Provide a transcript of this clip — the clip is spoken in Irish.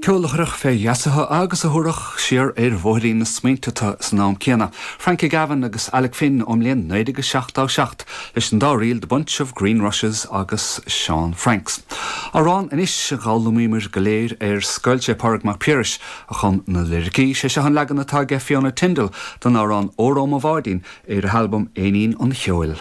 Ceol a chuirfeadh fé gheasa thu agus a thabharfadh siar ar bhóithrín na smaointe tu san am céanna. Frankie Gavin agus Alec Finn ón mbliain 1977 leis an dá ríl The Bunch of Green Rushes agus Sean Franks. Amhrán anois a d'fhoghlaimíomar go léir ar scoil, sé Pádraig Mac Piarais a chum na liricí. Sé seo an leagan atá aige Fiona Tindall den amhrán Óró Mo Bháidín ar a halbam Éinín an Cheoil.